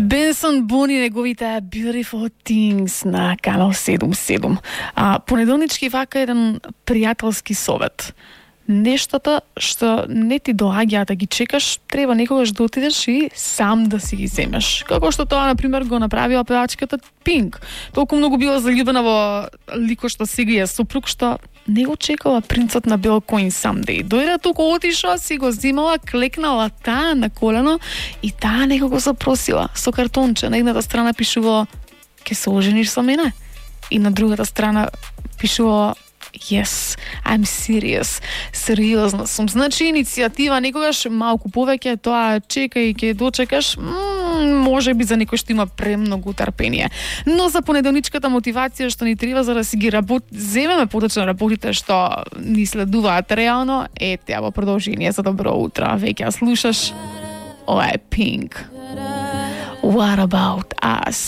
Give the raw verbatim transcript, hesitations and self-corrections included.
Бенсон Бони, неговите Beautiful Things на канал седум седум. А понеделнички вака еден пријателски совет. Нештата што не ти доаѓаат да ги чекаш, треба некогаш да отидеш и сам да си ги земеш. Како што тоа, например, го направила певачката Пинк. Толку многу била заљубена во ликот што сега е сопруг, што не го чекала принцот на бел коин someday. Дојде туку, отишла, си го земала, клекнала таа на колено и таа некако запросила со картонче. На едната страна пишувала "Ке се ожениш со мене?" И на другата страна пишувала "Yes, I'm serious." Сериозна сум. Значи, иницијатива некогаш малку повеќе, тоа чекај, ќе дочекаш, м- може би за некој што има премногу трпение. Но за понеделничката мотивација што ни треба за да си ги работ... земеме поточно работите што ни следуваат реално, ете, во продолжение за добро утро. Веќе ја слушаш, ова е Pink. What about us?